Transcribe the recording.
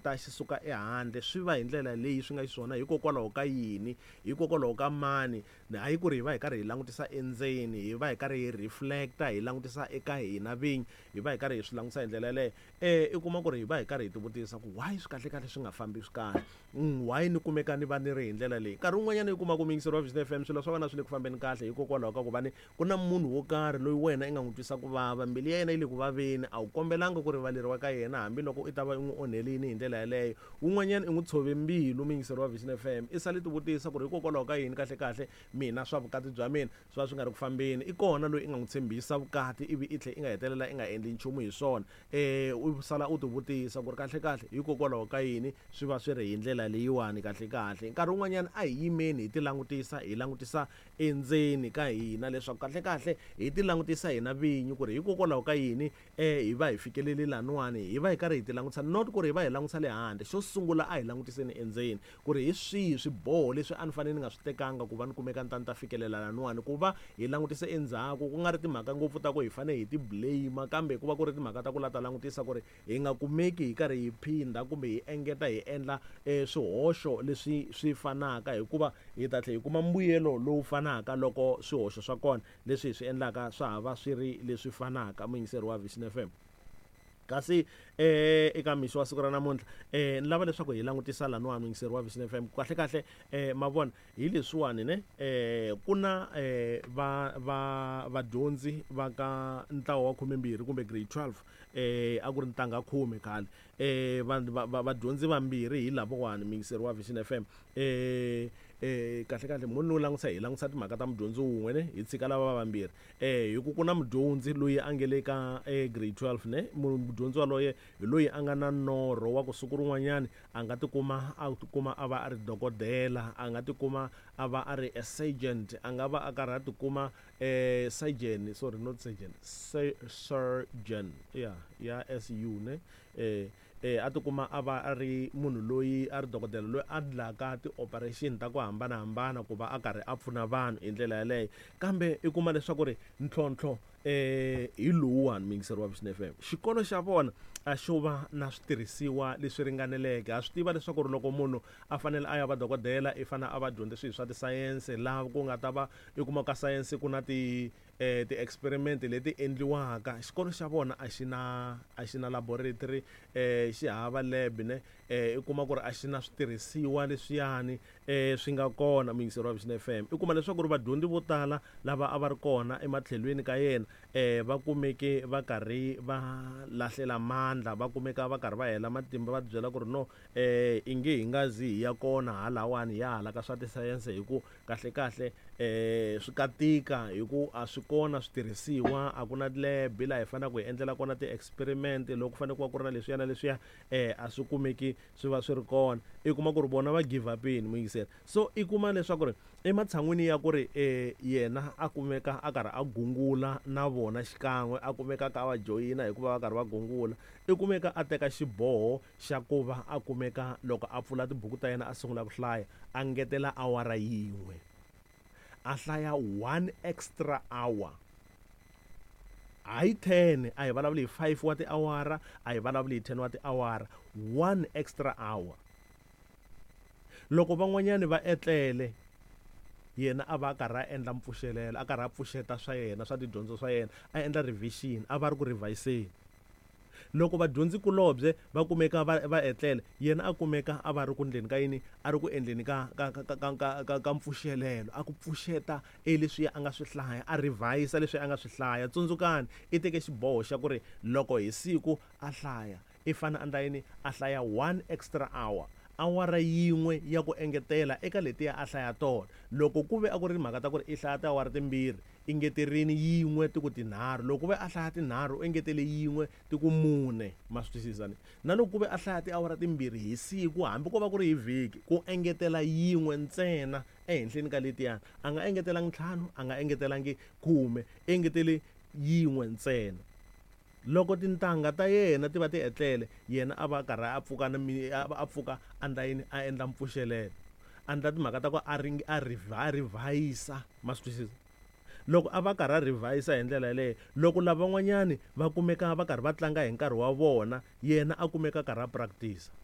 Ta xi suka ehandle swi va hi ndlela leyi swi nga xiswona hikokwalaho ka yini, hikokwalaho ka mani. Hayi ku ri hi va hi karhi hi langutisa endzeni, hi va hi karhi hi reflect-a hi langutisa eka hina vinyi, hi va hi karhi hi swi langutisa hi ndlela yaleyo. I kuma ku ri hi va hi karhi hi tivutisa ku why swi kahlekahle swi nga fambi swi kahle, why ni kumeka ni va ni ri hi ndlela leyi. Nkarhi wun'wanyana u kuma ku muyingiseri wa Vision F_M swilo swa wena swi le ku fambeni kahle hikokwalaho ka ku va ni ku na munhu wo karhi loyi wena i nga n'wi twisa ku vava, mbilu ya yena yi le ku vaveni, a wu kombelanga ku rivaleriwa ka yena hambiloko i ta va i n'wi onhelini hi ndlela yaleyo. Wun'wanyana i n'wi tshove mbilu muyingiseri wa Vision F_M, i sale tivutisa ku ri hikokwalaho ka yini kahlekahle mina swa vukati bya mina swi va swi nga ri ku fambeni. I kona loyi i nga n'wi tshembisa vukati ivi i tlhela i nga hetelela i nga endli nchumu hi swona. U sala u tivutisa ku ri kahlekahle hikokwalaho ka yini swi va swi ri hi ndlela leyiwani kahlekahle. Nkarhi wun'wanyana a hi yimeni hi tilangutisa, hi langutisa endzeni ka hina leswaku kahlekahle hi tilangutisa hina vinyi ku ri hikokwalaho ka yini hi va hi fikelele laniwani, hi va hi karhi hi tilangutisa not ku ri hi va hi langutisa le handle. Xo sungula a hi langutiseni endzeni ku ri hi swihi swiboho leswi a ni fanele ni nga swi tekanga ku va ni kumeka ni ta ni ta fikelela laniwani, ku va hi langutise endzhaku ku nga ri timhaka ngopfu ta ku hi fanele hi ti blame kambe ku va ku ri timhaka ta ku la ta langutisa ku ri hi nga kumeki hi karhi hi phindha kumbe hi engeta hi endla swihoxo leswi swi fanaka, hikuva hi ta tlhela hi kuma mbuyelo lowu fanaka loko swihoxo swa kona leswi hi swi endlaka swa ha va swi ri leswi fanaka. Muyingiseri wa Vision F_M, kasi eka mixo wa siku ra namuntlha ni lava leswaku hi langutisa laniwani muyingiseri wa Vision F_M kahle kahle ma vona hi leswiwani ne ku na va va vadyondzi va ka ntlawa wa khumembirhi kumbe grade 12 a ku ri ntangha khume khale vadyondzi vambirhi hi lavawani muyingiseri wa Vision F_M kahle kahle mo no langutisa hi langutisa timhaka ta mudyondzi wun'we ne hi tshika lava vambirhi hi ku ku na mudyondzi loyi a nge le ka grade 12 ne mudyondzi waloye hi loyi a nga na norho wa ku siku rin'wanyani a nga tikuma a tikuma a va a ri dokodela, a nga tikuma a va a ri a surgeon, a nga va a karhi a tikuma surgeon sorry not surgeon surgeon ya ya S_U ne a tikuma a va a ri munhu loyi a ri dokodela loyi a endlaka ti-operation ta ku hambanahambana ku va a karhi a pfuna vanhu hi ndlela yaleyo. Kambe i kuma leswaku ri ntlhontlho hi lowuwani muyingiseri wa Vision F_M, xikolo xa vona a xo va na switirhisiwa leswi ringaneleke. Ha swi tiva leswaku ri loko munhu a fanele a ya va dokodela i fanele a va dyondze swilo swa tisayense laha ku nga ta va i kuma ka sayense ku na ti ti-experiment leti endliwaka. Xikolo xa vona a xi na a xi na laboratory xi hava lab ne i kuma ku ri a xi na switirhisiwa leswiyani swi nga kona muyingiseri wa Vision F_M. I kuma leswaku ri vadyondzi vo tala lava a va ri kona ematlhelweni ka yena va kumeke va karhi va lahlela mandla, va kumeka va karhi va hela matimba va tibyela ku ri no i nge hi nga zi hi ya kona halawani hi ya hala ka swa tisayense hi ku kahlekahle swi ka tika hi ku a swi kona switirhisiwa, a ku na lab laha hi faneleke hi endlela kona ti-experiment loko ku fanele ku va ku ri na leswiya na leswiya a swi kumeki swi va swi ri kona. I kuma ku ri vona va give up-ini muyingiseri, so i kuma leswaku ri ematshan'wini ya ku ri yena a kumeka a karhi a gungula na vona xikan'we a kumeka a kha a va joyina hikuva va karhi va gungula, i kumeka a teka xiboho xa ku va a kumeka loko a pfula tibuku ta yena a sungula ku hlaya a ngetela awara yin'we, a hlaya one extra hour. Hayi 10, a hi vulavuli hi 5 wa tiawara, a hi vulavuli hi 10 wa tiawara, one extra hour. Loko van'wanyani va etlele yena a va a karhi a endla mpfuxelelo, a karhi a pfuxeta swa yena swa tidyondzo swa yena, a endla revision, a va ri ku revise-ni. Loko vadyondzikulobye va kumeka va va etlele, yena a kumeka a va ri ku ndleni ka yini, a ri ku endleni ka ka ka ka ka ka ka mpfuxelelo, a ku pfuxeta e leswiya a nga swi hlaya, a revise leswi a nga swi hlaya. Tsundzukani, i teke xiboho xa ku ri loko hi siku a hlaya, i fane a endla yini, a hlaya one extra hour, awara yin'we ya ku engetela eka letiya a hlaya tona. Loko ku ve a ku ri timhaka ta ku ri i hlaya tiawara timbirhi, i ngeterini yin'we ti ku tinharhu. Loko ku ve a hlaya tinharhu, u engetele yin'we ti ku mune. Ma swi twisisa ne? Na loko ku ve a hlaya tiawara timbirhi hi siku, hambi ko va ku ri hi vhiki, ku engetela yin'we ntsena ehenhleni ka letiyani. A nga engetelangi ntlhanu, a nga engetelangi khume, i engetele yin'we ntsena. Loko tintangha ta yena ti va ti etlele, yena a va a karhi a pfuka na a pfuka a endla yini, a endla mpfuxelelo, a endla timhaka ta ku a a a revise-a. Ma swi twisisa? Loko a va a karhi a revise-a hi ndlela yaleyo, loko lavan'wanyani va kumeka va karhi va tlanga hi nkarhi wa vona, yena a kumeka a karhi a practice-a.